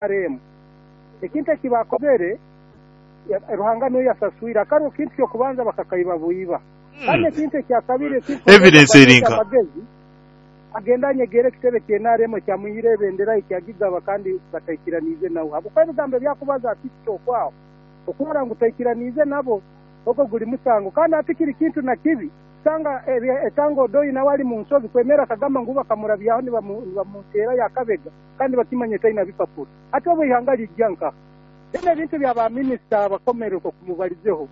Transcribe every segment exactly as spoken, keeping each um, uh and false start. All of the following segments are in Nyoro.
N R M ekintu eki bakozere, Ruhanga niwe yasaswire. Akaruru kintu kyokubanza bakakaiba bwiba, kandi ekintu ekyakabiri Evidence erinka. Amagezi agenda anyegera ekitebe kya N R M ekyamwihire ebendera ekyagigaba, kandi bataikiraniize nawe, habwokuba ebigambo ebyakubaza ati kitokwaho okurora ngu taikiraniize nabo, ogwo guli musango. Kandi ati kiri kintu na kibi sanga etanga Odoi nawe ali mu nsobi kwemera akagamba ngu bakamurabyaho nibamuteera yakabega, kandi bakimanye taina bipapuro. Ati obu ihanga lijja nkaha? Then ebintu bya baminisita abakomere okumubalizeho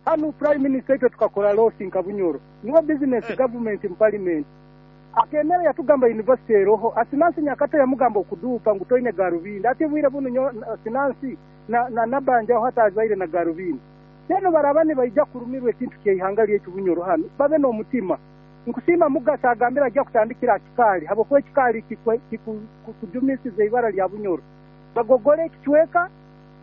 hanu, Prime Minister, itwe tukakora loss nka Bunyoro. Niwe business government mu parliament akemera yatugamba university eroho. Asinansi Nyakato yamugamba okuduupa ngu toine garubindi. Ati bwire bunu Sinansi na, na nabanjaho hatazaire na garubindi. Then baraba nibaija kurumirwa ekintu kyeihanga lyaitu Bunyoro hanu, babe n'omutima. Nkusiima Mugasa agambira ajja kutandikira Kikaali, habwokuba ekikaali kujumisiza ibara lya Bunyoro, bagogole ekicweka.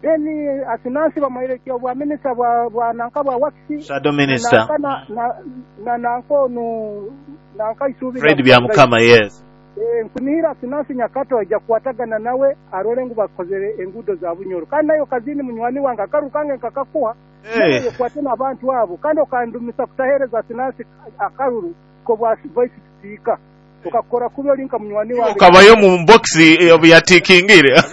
Then Asinansi bamuhaire obwa minisita bwa bwa nanka bwa works. Shadow minister. na na na nanka onu nanka Isubi. Fred Byamukama, yes. eh nkunihira Asinansi Nyakato ajja kukwatagana nawe arole ngu bakozere enguudo za Bunyoro. Kandi nayo Kazini munywani wange, akaru kange nkakakuha. Hey. Kwate n'abantu abo, kandi okandumisa kutahereza Asinansi akaruru ko bwa vice speaker, ukakora kubi olinka munywani wange. Ukabayo mu box yatikingire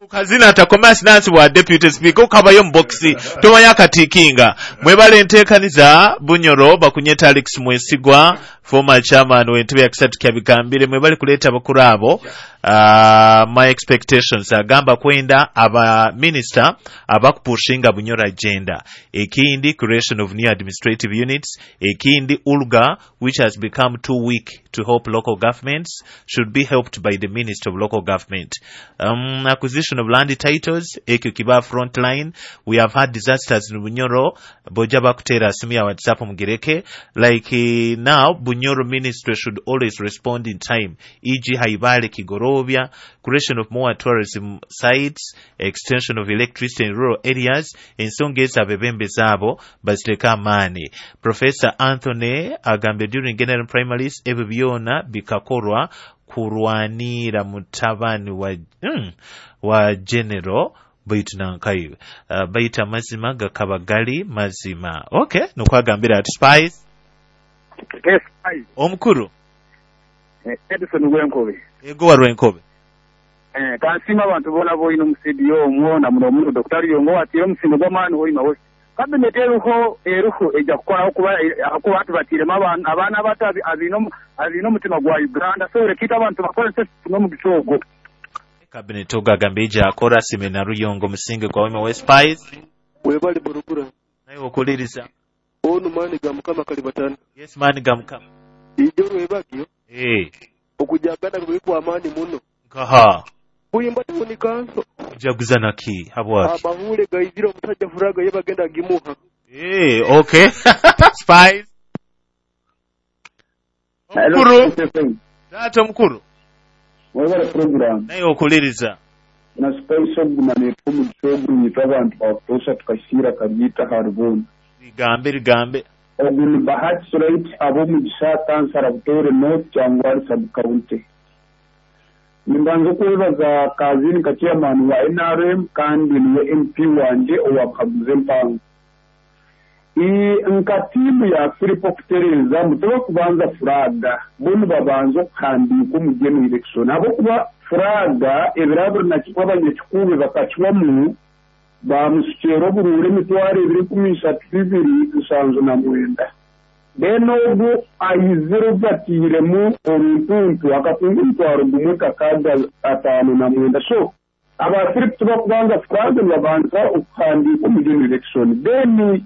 Kazina atakoma Sinansi bwa deputy speaker, ukabayo mu box tomanya akatikinga. Mwebale enteekaniza Bunyoro. Bakunyeta Alex Mwesigwa, former chairman w'entebe ya Kisatu Kyabigambire. Mwebale kuleeta abakuru abo. uh, my expectations agamba kwenda aba minister abakupushinga Bunyoro agenda. Ekindi, creation of new administrative units. Ekindi, ULGA, which has become too weak to help local governments, should be helped by the Minister of Local Government. um, acquisition of land titles, ekyo kiba frontline. We have had disasters in Bunyoro. Boja bakutera simu ya WhatsApp mugireke. Like uh, now Bunyoro ministry should always respond in time, for example. Haibale, Kigorobya. Creation of more tourism sites, extension of electricity in rural areas. Ensonga ezo abebembezi abo baziteeka amaani. Professor Anthony agambye during general primaries ebyo byona bikakorwa kurwanira mutabani wa, mm, wa general baitu nankayo uh, baitu amazima gakaba gali mazima. Okay, nukwagambira ati Spice. Yes, Spice. Omukuru. Edison Rwenkobe. Ego wa Rwenkobe. Eh, kansima abantu bona boyina omu studio omwo, na muno muno Doctor Yongo watire omusingo gw'amaani hoima wose. Cabinet eruho eruho ejja kukoraho kuba akuba tubatiremu abaana abato abiine omutima gwa Uganda, so rekita abantu bakozese n'omugisha ogwo. Cabinet ogo agamba ejja akora sime na Ruyongo omusinge gwa Wema West Spice. Webali burugura. Naye okuliriza. Onu maani ga Mukama kalibatana. Yes, maani ga Mukama. Ijo rwebagyo. Eh. Okujagana kwe kwa amaani muno. Nkaha. Buyimba tawuni kanso. Kujaguza naki habwaki? Amahule gaizira omusajja furaga ye bagenda gimuha. Eh, okay. Spice. Omukuru. Taata omukuru. Webale program. Naye okuliriza. Na Spice oguma neetwa omugisha ogu nyitwa abantu bakutoosha tukasiira karyita haribona. Ligambe ligambe. Ogu ni Bahati Right ab'omugisha, kansara Butoore North, Kyangwali sub county. Nimbanza okwebaza Kazini nka chairman wa N R M kandi niwe M P wanje owabuhaguza empango. Nka tiimu ya Philip okutereeza mutoba kubanza furaga, bo nibabanza okuhandiika omu general election, ahabwokuba furaga ebiraburi nakikwa abanyakikuube bakakiwamu bamusukyera oburuura emitwaro ebiri enkumi ishatu bibiri nsanju na mwenda. Then ogu aizire obatiiremu oruntuntu akatunga emitwaro gumwe kakaaga ataano na mwenda. So aba Philip tibakubanza furaga, nibabanza okuhandiika omu general election. Then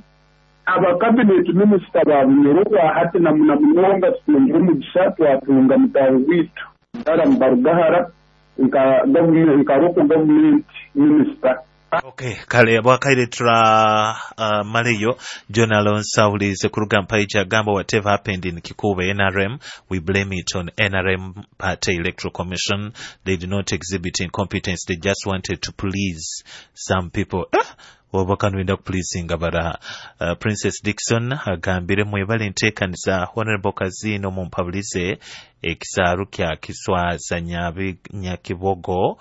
aba cabinet minister ba Bunyoro hati na muna munonga tutungire omugisha twatunga mutaho witu Balaam Barugahara nka government nka local government minister. Okay, kale bwakaire tura uh, maleyo. John Alonso awulize kuruga mpaija agamba, "Whatever happened in Kikuube N R M, we blame it on N R M Party Electoral Commission. They did not exhibit incompetence, they just wanted to please some people." Ah! Oba kanwenda kupleasinga baraha. uh, princess Dixon agambire, "Mwebale enteekaniza. Honorable Kazino mumpabulize ekisaaru kya Kiswaza Nyakibogo."